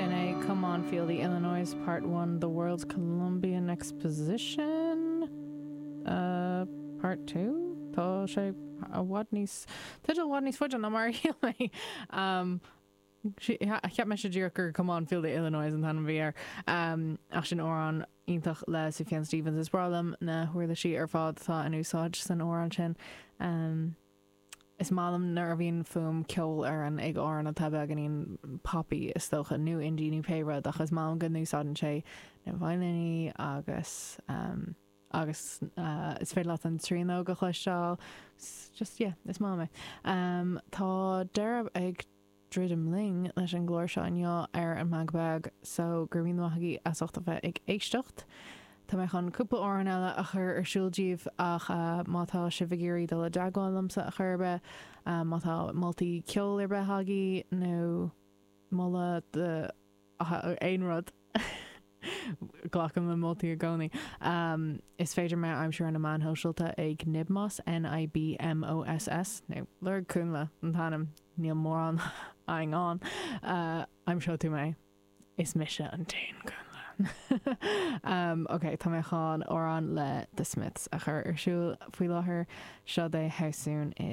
Sin é Come On Feel the Illinoise Part One, The World's Columbian Exposition Part 2? Tá sé i bhfad níos, teideal i bhfad níos faide ná mar a shíl mé. Cheap mise díreach gur Come On Feel the Illinoise an t-ainm a bhí air. Ach sin amhrán iontach le Sufjan Stevens. Is breá liom na huirlisí ar fad atá in úsáid san amhrán sin. Is maith liom nuair a bhíonn fuaim ceolfhoireann ag amhrán atá beagáinín poppy is dócha, nó indie nó pé rud, ach is maith liom go n-úsáideann sé na veidhlíní agus agus is féidir leat an tríonóg a chloisteáil. Just, yeah, is maith liom é. Tá deireadh ag druidim linn leis an gclár seo inniu ar an Meangadh Beag so go raibh míle maith agaibh as ucht a bheith ag éisteacht. Tá mé chun cúpla amhrán eile a chur ar siúl daoibh ach má tá sibh ag iarraidh dul i dteagmháil liomsa a chor ar bith, má tá moltaí ceoil ar bith agaibh nó moladh do aon rud, Glacaim le moltaí i gcónaí. Is féidir mé a aimsiú ar na meáin shóisialta ag Nibmoss, N-I-B-M-O-S-S, nó lorg Cúnla an t-ainm, níl mórán againn ann. Aimseoidh tú mé. Is mise an t-aon Cúnla. Ok, tá mé chun amhrán le The Smiths a chur ar siúl faoi láthair. Seo é How Soon Is.